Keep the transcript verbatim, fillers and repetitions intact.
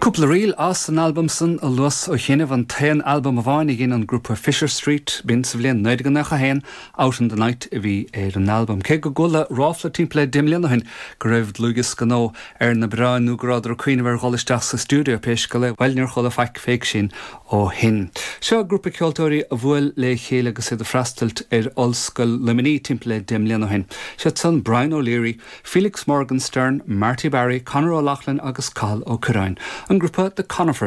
Cúpla ríl as an albam san a luas ó chinneh an t-aon albam amháin a dhein an grúpa Fisher Street b'in sa bhliain naoi déag nócha haon Out in the Night a bhí ar an albam. Cé go gcuala ráfla timpeall deich mbliana ó shin go raibh dlúthdhiosca nua ar na bioráin nó go rabhadar ag cuimhneamh ar dhul isteach sa stiúideo pé scéal é bhuel níor chuala faic fé sin ó shin. Seo grúpa ceoltóirí a bhuail le chéile agus iad ag freastal ar Ollscoil Luimnigh timpeall deich mbliana ó shin. Siad san Brian O'Leary, Felix Morgenstern, Marty Barry, Conor O'Loughlin agus Cathal Ó Curráin. An grúpa The Conifers